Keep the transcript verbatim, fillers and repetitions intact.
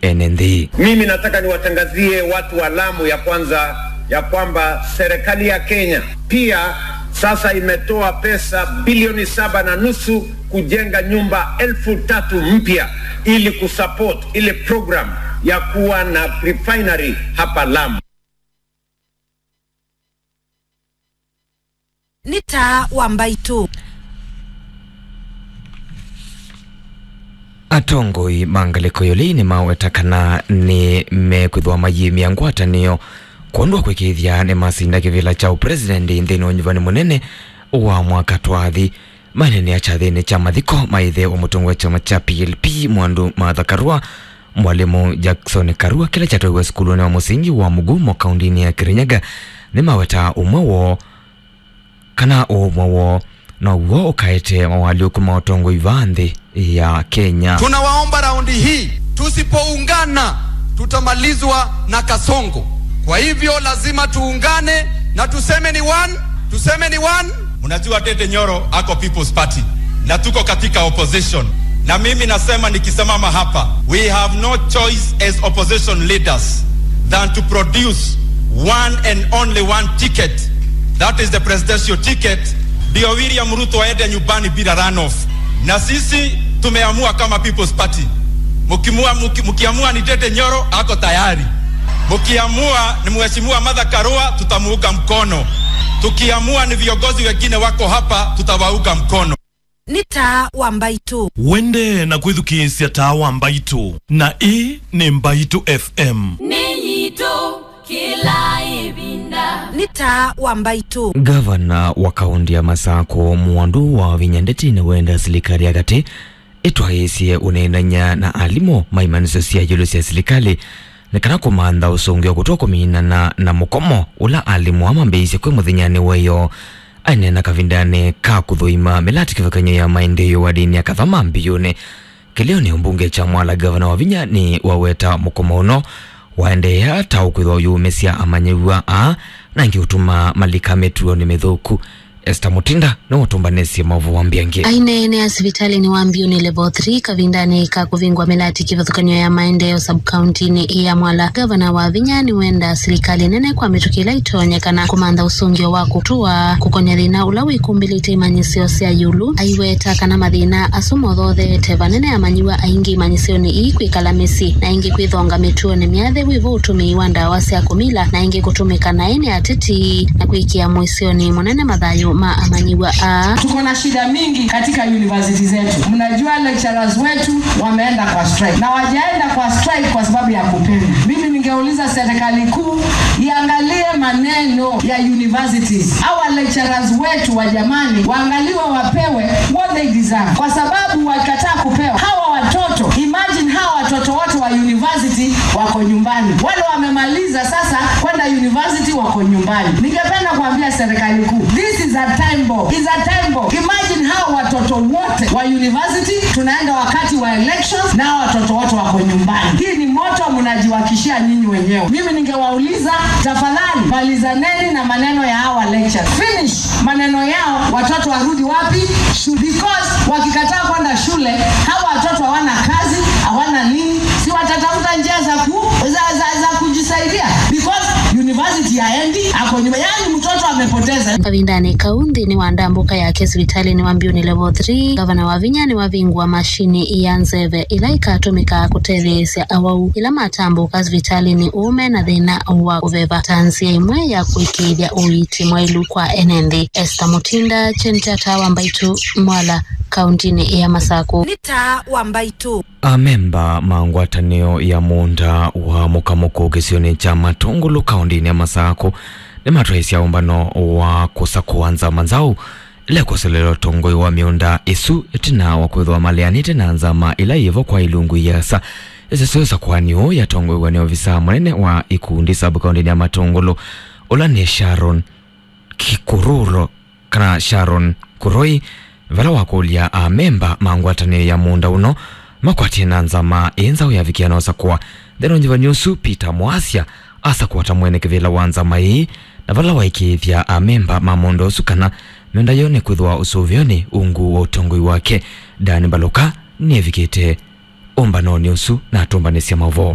ene nthĩ. Mimi nataka niwatangazie watu wa Lamu ya kwanza ya kwamba serikali ya Kenya pia sasa imetoa pesa bilioni saba na nusu kujenga nyumba elfu tatu mpya ili kusupport ile program ya kuwa na refinery hapa Lamu. Nĩ taa wa mbaitũ. Atongoi ma ngalĩko ĩũlũ nĩmaweta kana nĩmekwĩthĩwa mayĩmya ngwatanĩo kwondũ wa kwĩkĩĩthya nĩmasinda kĩvĩla kya ũpresident nthĩnĩ wa ũnyuvani mũnene wa mwaka twathi. Maneenea kyathĩnĩ kya mathiko ma ĩthe wa mũtongoi wa kyama kya P L P Mwandu Martha Karua, mwalimũ Jackson Karua, kĩla kyatwaiwe sukulunĩ wa mũsingi wa Mugumo, kaũndĩnĩ ya Kirinyaga, nĩmawetaa ũmwe woo, kana ũmwe woo now'o ũkaete mawaalyũku ma ũtongoi vaa nthĩ ya Kenya. Tunawaomba raundi hii, tusipoungana tutamalizwa na Kasongo. Kwa hivyo lazima tuungane na tuseme ni one, tuseme ni one. Mnajua Ndindi Nyoro ako People's Party na tuko katika opposition, na mimi nasema, nikisimama hapa, we have no choice as opposition leaders than to produce one and only one ticket, that is the presidential ticket, ndio William Ruto aende nyumbani bila runoff. Na sisi tumeamua kama People's Party, mkimua, mki-, mkiamua ni Ndindi Nyoro, ako tayari. Mkiamua ni Mheshimiwa Martha Karua, tutamuunga mkono. Tukiamua ni viongozi wengine wako hapa, tutawaunga mkono. Nĩ taa wa mbaitũ. Wende na kwĩthukĩĩsya taa wa mbaitũ, na ĩĩ nĩ Mbaitũ F M. Nĩ yitũ kĩla ĩvinda. Nĩ taa wa mbaitũ. Ngavana wa kaũntĩ ya Masakũ, Mwandu wa Vinya Ndeti, nĩwenda silikalĩ ya katĩ ĩtwaĩĩsye ũneenany'a na alimũ ma imanyĩsyo sya ĩũlũ sya silikalĩ nĩ kana kũmantha ũsũngĩo kũtwa kũminana na mũkomo ũla alimũ aa mambĩĩisye kwĩ mũthenyanĩ wa ĩyoo. Aineena kavindanĩ ka kũthũima mĩlatĩ kĩvathũkany'o ya maendeeo wadinĩ ya Kathama Mbĩũnĩ kĩlĩonĩ ũmbunge kya Mwala, Ngavana Wavinya nĩwaweta mũkomo ũno waendeea ta ũkwĩthwa ũyũmĩsya amanyĩw'a aa na ĩngĩ ũtuma malika mĩtuonĩ mĩthũku. Esther Mutinda nĩwe ũtũmbanĩsye maũvoo wa Mbiangi. Aineenea sivitalĩnĩ wa Mbiũnĩ Level three kavindanĩ ka kũvingwa mĩlatĩ kĩvathũkany'o ya maendeeo sub-kauntinĩ ya Mwala, Ngavana Wavinya nĩwenda silikalĩ nene kwa mĩtũkĩ ĩla ĩtonyekana kũmantha ũsũngĩo wa kũtũa kũkonya thĩna ũla wĩkumbĩlĩte imanyĩsyo sya ĩũlũ. Aiweta kana mathĩna asu mothootheete vanene amanyĩw'a aingĩ imanyĩsyonĩ ii kwĩkala mĩsyĩ, na ĩngĩ kwĩthonga mĩtuonĩ mĩathe, wĩvo ũtũmĩi wa ndawa sya kũmila, na ĩngĩ kũtũmĩka naĩ nĩ ateti na kwĩkĩa mũisyonĩ mũnene mathayũ ma amanyĩw'a aa. Tuko na shida mingi katika university zetu. Mnajua lecturers wetu wameenda kwa strike. Na wajaenda kwa strike kwa sababu ya kupenda. Mimi ningeuliza serikali kuu iangalie maneno ya universities. Hawa lecturers wetu wa jamani, waangaliwe, wapewe what they deserve. Kwa sababu wakikataa kupewa, hawa watoto, imagine hawa watoto wote wa university wako nyumbani. Wale wamemaliza sasa kwenda university wako nyumbani. Ningependa kuambia serikali kuu, this is a time bomb. Is a time bomb. Imagine hawa watoto wote wa university, tunaenda wakati wa elections na hawa watoto wote wako nyumbani. Hii ni moto mnajiwakishia nyinyi wenyewe. Mimi ningewauliza, tafadhali, malizaneni na maneno ya hawa lecturers. Finish maneno yao, watoto warudi wapi? Shule. Because wakikataa kwenda shule, hawa watoto hawana kazi, hawana nini, si watatafuta njia za ku-, za, za, za kujisaidia? Because university haendi, ako nyuma, yani mtoto amepoteza. Kavindanĩ kau, nthĩnĩ wa ndambũka yake sivitalĩnĩ wa Mbiũnĩ Level three, Ngavana Wavinya nĩwavingũa mashini ya nzeve ĩla ĩkatũmĩka kũtetheesya awau ĩla matambũka sivitalĩnĩ ũũ mena thĩna wa kũveva ta nzĩa ĩmwe ya kũĩkĩĩthya ũiiti mwaĩlu kwa ene nthĩ. Esther Mutinda, Kyeni kya Taa wa Mbaitũ, Mwala, kaũntĩnĩ ya Masakũ. Nĩ Taa wa Mbaitũ. Amemba ma ngwatanĩo ya mũũnda wa mũkamũkũ kĩsionĩ kya Matũngũlũ kaũntĩnĩ ya Masakũ nĩmatwaĩsya ũmbano wa kũsakũa nzama nzaũ ĩla ĩkũselela ũtongoi wa mĩũnda ĩsu ĩtina wa kwĩthĩwa maleanĩte na nzama ĩla yĩvo kwa ilungu iasa ĩsese ũsakũani ũũ yatongoew'a nĩ ovisa mũnene wa ikundi sub kaũntĩnĩ ya Matũngũlũ, ũla nĩ Sharon Kikururo, kana Sharon Kuroi, vala wakũlya amemba ma ngwatanĩo ya mũũnda ũno makwatie na nzama ĩ nzaũ yavikĩa na ũsakũa. Nthĩnĩ wa ũnyuvani ũsu, Peter Mwasya asakũa ta mwene kĩvĩla wa nzama ĩĩ, na vala waĩkĩĩthya amemba ma mũũnda ũsu kana mĩũnda yoo nĩkwĩthĩwa ũsũvĩonĩ ungu wa ũtongoi wake. Dan Mbaluka nĩevikĩte ũmbanonĩ ũsu na atũmbanĩsya maũvoo.